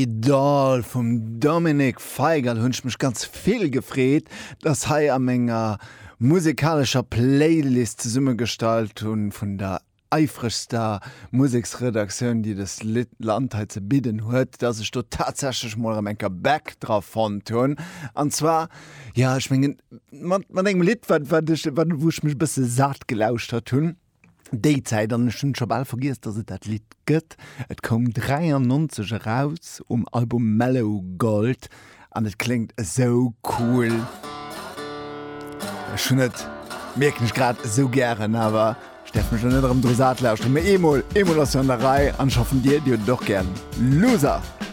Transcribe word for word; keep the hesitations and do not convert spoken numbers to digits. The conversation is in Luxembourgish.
Doll vum Dominik Feigerl hunn ech mech ganz vill gefreet, dass hei a menger musikalescher Playlist zesummegestallt hunn vun der eifregster Museksredaktioun, déi dës Land hei ze bidden huet, dass ech do tatsächlech mol erëm eng Kéier Back dra fonnt hunn. An zwar, jo, ech mengen, mat, mat engem Lidd, wat, wat ech, wat, wou ech mech e bësse sat gelauschtert hunn déi Zäit, an ech hunn scho bal vergiess, dass et dat Lidd gëtt. Et koum dräiannonzeg eraus um Album Mellow Gold an et kléngt esou cool. Ech hunn et, mierken ech grad, esou gären, awer ech däerf mech elo net erëm dru sat lauschteren. Mee eemol, eemol ass jo an der Rei an ech hoffen dir, dir hutt et och gären. Loser!